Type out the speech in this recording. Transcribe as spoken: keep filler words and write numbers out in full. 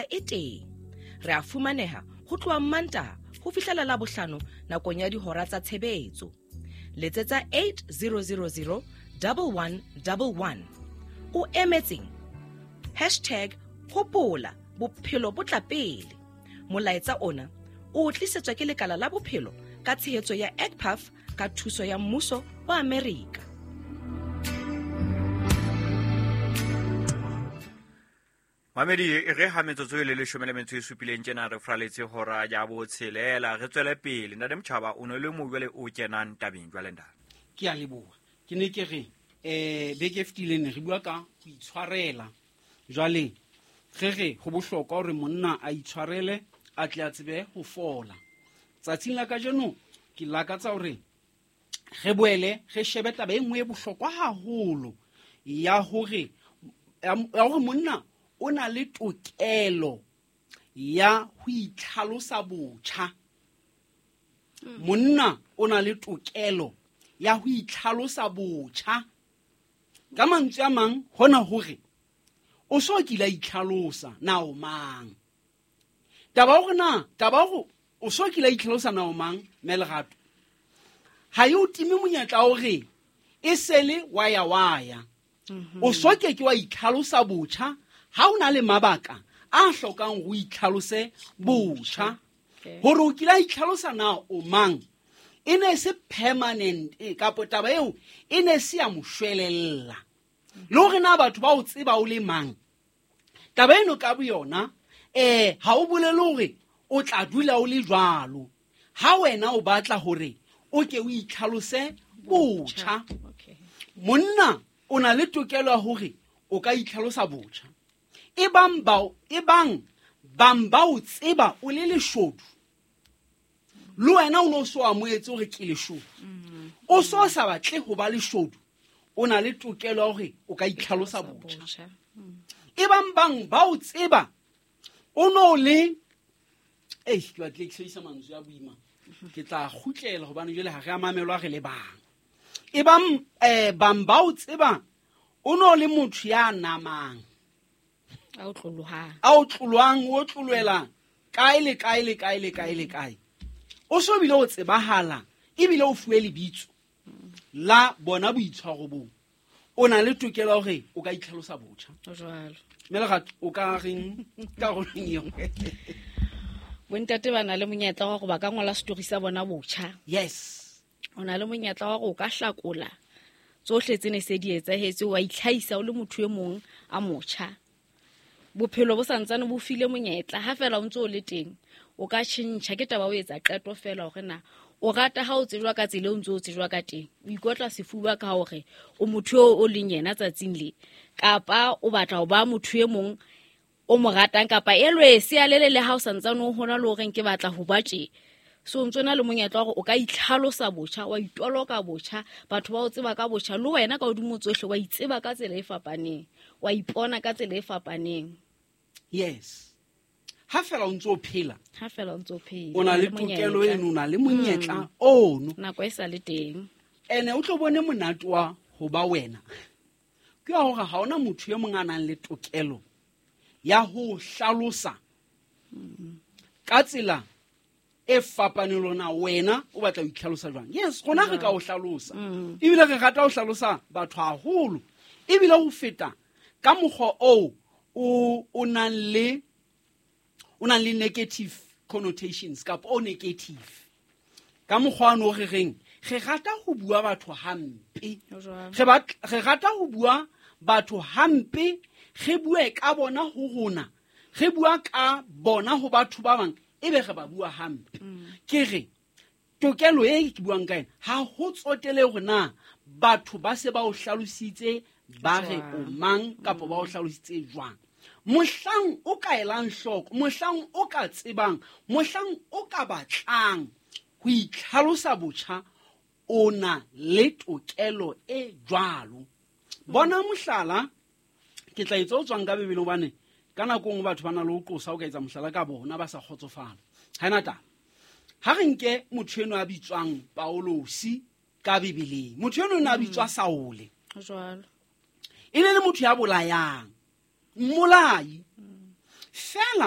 e teng. Re a fumaneha ho tloha Mantaha ho fihlela Labohlano nakong ya dihora tsa tshebetso. Letsetsa eight zero zero zero double one double one. O emetseng? Hashtag hopola bophelo bo tla pele. Molaetsa ona o tlisetswa ke lekala la bophelo ka tshehetso ya E C P A F ka thuso ya mmuso wa Amerika. Mamedi re ha metsotso e le leshome le metso e supileng tjena re fraletse hora ya botshelela re tswele pele. Ntate Motjhaba o ne le mo jwale o kenang tabeng jwale ntate. Ke a leboha. Ke ne ke re eh beke e fetileng re bua ka ho itshwarela. Jwale re re ho bohlokwa hore monna a itshwarele a tle a tsebe ho fola. Tsatsing la kajeno ke lakatsa hore re boele re shebe taba e nngwe e bohlokwa haholo ya hore ya hore monna o na le tokelo ya ho itlhalosa botjha. Monna o na le tokelo ya ho itlhalosa botjha. Ka mantswe a mang hona hore o so kile a itlhalosa na o mang. Taba hore na taba hore o so kile a itlhalosa na o mang Melerato ha e o time monyetla hore e sele waya waya. O so ke ke wa itlhalosa botjha ha o na le mabaka a hlokang ho itlhalose botjha. Hore o kile a itlhalosa na o mang e ne se permanent kapa taba eo e ne se ya moshwelella. Le hore na batho ba o tseba o le mang taba eno ka boyona eh ha o bolele hore o tla dula o le jwalo. Ha wena o batla hore o ke o itlhalose botjha. Monna o na le tokelo ya hore o ka itlhalosa botjha. E bang bao e bang bang ba o tseba o le leshodu le wena o no so amohetse hore ke leshodu o so sa batle ho ba leshodu o na le tokelo ya hore o ka itlhalosa botjha. E bang bang ba o tseba o no le eh ke batle ke sebedisa mantswe a boima ke tla kgutlela hobane jwale ha re a mamelwa re le bang. E bang eh bang ba o tseba o no le motho ya namang a o tlolohang a o tlolwang o tlolwela kae le kae le kae le kae le kae o so bile o tsebahala ebile o fuwe lebitso la bona boitshwaro bo o na le tokelo ya hore o ka itlhalosa botjha. Jwalo Melerato o ka reng ka rolong eo? Bontate ba na le monyetla wa hore ba ka ngola story sa bona botjha. Yes, o na le monyetla wa hore o ka hlakola tsohle tse ne se di etsahetse wa itlhahisa o le motho e mong a motjha. Bophelo bo santsane bo file monyetla ha fela o ntse o le teng o ka tjhentjha ke taba o etsa qeto fela hore na o rata ha o tsejwa ka tsela o ntse o tsejwa ka teng o ikotla sefuba ka hore o motho eo o leng yena tsatsing le kapa o batla ho ba motho e mong o mo ratang kapa elwe se a lele le ha o santsane o hona le horeng ke batla ho ba tje. So ntse na le monyetla hore o ka itlhalosa botjha wa itoloka botjha batho ba o tseba ka botjha le wena ka hodimo tsohle wa itseba ka tsela e fapaneng wa ipona ka tsela e fapaneng. Yes, ha fela o ntse o phela ha fela o ntse o phela o na le tokelo eno o na le monyetla ono nako e sa le teng ene o tlo bone monate wa ho ba wena ke wa hore ha ona motho e mong a nang le tokelo ya ho hlalosa ka tsela e fapaneng le lona wena o batla ho itlhalosa jwang. Yes, rona re ka o hlalosa ebile re rata ho hlalosa batho haholo ebile ho feta ka mokgwa oo o o nang le o nang le negative connotations kapa o negative ka mokgwa ono re reng re rata ho bua batho hampe re batla re rata ho bua batho hampe re bue ka bona ho rona re bua ka bona ho batho ba bang ebe re ba bua hampe. Ke re tokelo e ke buang ka ena ha ho tsotele hore na batho ba se ba o hlalositse ba re o mang kapa ba o hlalositse jwang. Mohlang o ka elang hloko mohlang o ka tsebang mohlang o ka batlang ho itlhalosa botjha o na le tokelo e jwalo. Bona mohlala ke tla etsa o tswang ka Bibeleng hobane ka nako nngwe batho ba na le ho qosa o ka etsa mohlala ka bona ba sa kgotsofala. Ha ena taba ha re nke motho eno a bitswang Paulosi ka Bibeleng motho eno o ne a bitswa Saule jwalo e ne le motho ya bolayang mmolai fela